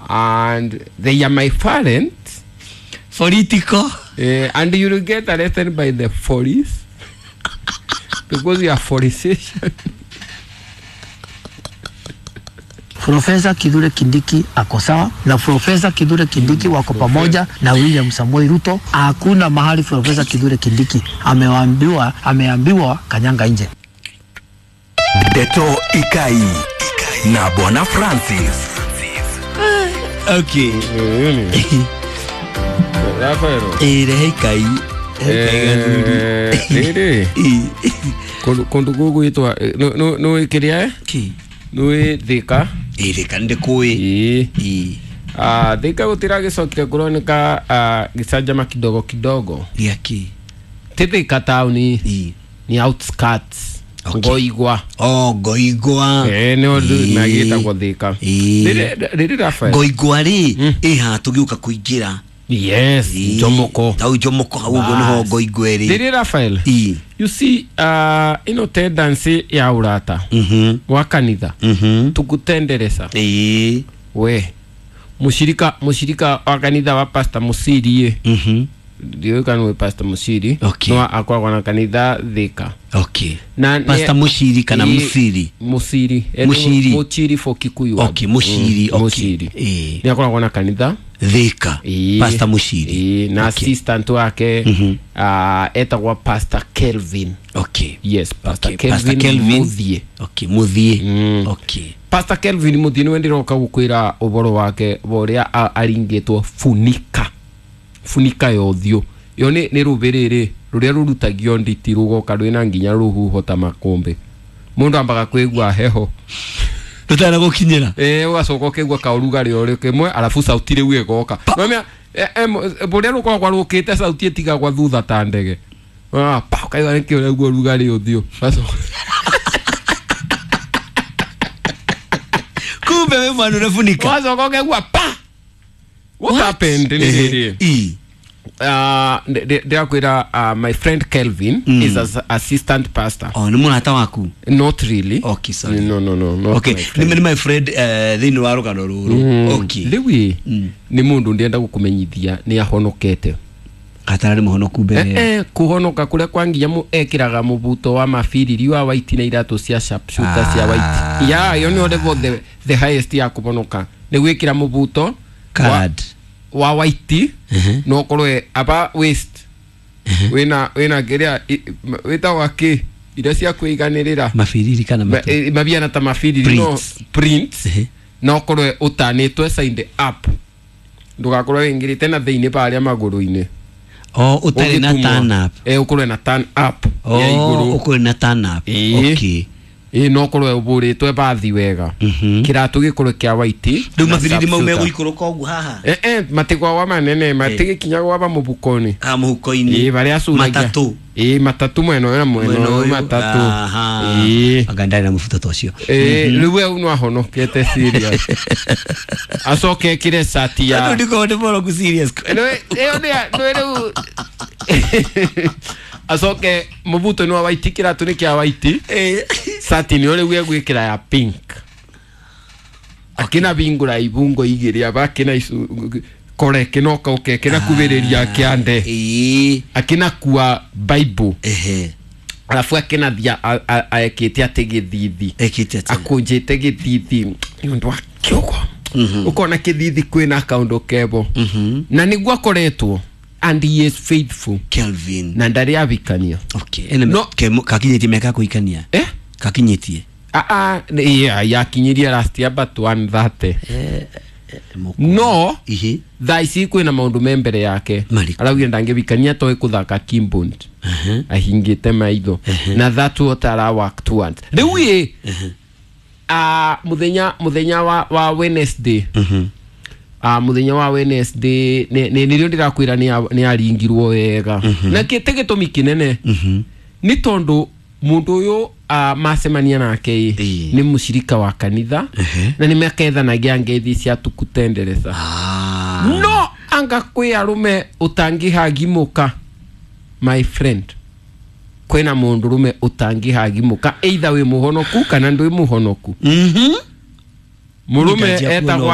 And they are my parents. Political. And you will get arrested by the police because you are politician. Profesa Kithure Kindiki ako sawa na Profesa Kithure Kindiki wako pamoja na William Samoei Ruto. Hakuna mahali Profesa Kithure Kindiki ameambiwa kanyanga nje. Ndeto Ikai na Bwana Francis. Okay. Rafael. Rehe Ikai. Rĩrĩ kũndũ gũgwĩtwa nĩ kĩrĩa nĩ Thika. Thika ndĩkũĩ. Thika gũtiragĩcokire kũroneka gĩcanjama kidogo kidogo. Gĩakĩ? Ti Thika taũni, ni outskirts. Ngoigwa. Oh, Ngoigwa. Nĩ ũndũ magĩtagwo Thika. Rĩrĩ Rafael. Ngoigwa rĩ ĩ haha tũgĩũka kũingĩra. Yes, Jomoko. Tau Jomoko hau ũguo nĩho Ngoigwa ĩrĩ. Rĩrĩ Rafael. You see, ino tendency ya urata wa kanitha tukutenderesa. We mushirika wa kanitha wa Pastor Musiri. Ndiũĩ kana nĩ Pastor Musiri. No akoragwo na kanitha Thika. Okay. Na Pastor Mushiri kana Musiri? Musiri. Mushiri. Muchiri for Kikuyu. Okay, Mushiri. Okay. Mushiri. Nĩ akoragwo na kanitha Thika. Pastor Mushiri. Na assistant wake etagwo Pastor Kelvin. Okay. Yes, Pastor Okay. Kelvin, Pastor Kelvin Muthie. Okay, Muthie. Okay. Pastor Kelvin Muthie niwe ndiroka gukwira uboro wake boria aringitwo funika. Funika ya ũthiũ. Yo nĩ rũbĩrĩrĩ rũrĩa rũrutagio nditi rũgoka rwĩna nginya rũhuho ta makũmbĩ. Mũndũ ambaga kwĩgua heho. Rũtana gũkinyĩra. Ũgacoka ũkaigua kaũrugarĩ o rĩmwe arabu sauti rĩu ĩgoka. Nĩwamenya bũrĩa rũkoragwo rũkĩte sauti ĩtigagwa thutha ta ndege. Pa ũkaigua nĩkĩ ũraigua ũrugarĩ ũthiũ. Kumbe we mwana ũrafunika. Ũgacoka ũkaigua pa. What happened? Ndĩrakwĩra my friend Kelvin is an assistant pastor. Oh, nĩ mũrata waku? Not really. Okay, sorry. No, not okay. My friend. Nĩ my friend thĩinĩ wa rũgano rũrũ. Okay. Rĩu nĩ mũndũ ndĩrenda gũkũmenyithia nĩ ahonokete. Gatararĩ mũhonoku mbere. Kũhonoka kũrĩa kwa nginya ekĩraga mũbuto wa mabiriri wa white na iratũ cia sharpshooter cia white. Yeah, yo nĩ level the highest ya kũhonoka. Nĩ gwĩkĩra mũbuto card wa white no korwe aba waist wina kiria witagwa ki iria cia kwiganirira mabiriri kana mabiana ta mabiriri no prints no korwe utanitwe side up ndugakorwe wingirite na thiini baria maguru-ini. Oh, utari na turn up. Ukorwe na turn up ya iguru. Ukorwe na turn up. Okay. No korwe uburitwe bathi wega. Kiratu gikorwe kia white. Riu mabiriri mau megũikũrũka ũguo haha. Matigwawa manene matigikinyagwo ba mũhuko-inĩ. Mũhuko-inĩ. Baria curagia. Matatu. Matatu mwena ũyũ na mwena ũyũ matatu. Anga ndarĩ na mũbuto ta ũcio. Rĩu we no ahonokete serious. Acoke ekĩre cati ya. Andũ ndikorwo ndĩ mũroku serious. Ĩyo nĩ rĩu acoke mũbuto nĩ wa white kĩratũ nĩ kĩa white. Sati nĩ rĩu egwĩkĩra ya pink. Akina bingura ibungo igĩrĩ aba akina kore kĩnoka ũke kĩna kubĩrĩria kĩande. Akina kua Bible. Arabu akina thia ekĩte atĩ gĩthithi. Akũnjĩte gĩthithi nĩ ũndũ wa kĩũgo. Ũkona kĩthithi kwĩna kaũndũ kebo. Na nĩguo akoretwo. And he is faithful. Kelvin. Na ndarĩ abikania. Okay. Ene no kakinyĩtie mĩaka kũikania. Kakinyĩtie. Yakinyirie last year but 130. No. Thaa ici kwĩna maũndũ me mbere yake. Araugire ndangĩbikania toĩ kũthaka keyboard. Ahingĩte maitho. Na that what ara work towards. Rĩu ĩ mũthenya wa Wednesday. Mũthenya wa Wednesday nĩ nĩrĩo ndĩrakwĩra nĩ aringirwo wega. Na kĩte gĩtũmi kĩnene nĩ tondũ mũndũ ũyũ macemania nake nĩ mũcirika wa kanitha na nĩ makethanagia ngeithi cia tukutendereza. No anga kwĩ arũme ũtangĩhagimũka my friend. Kwĩna mũndũ rũme ũtangĩhagimũka either wĩ mũhonoku kana ndwĩ mũhonoku. Mũrũme etagwo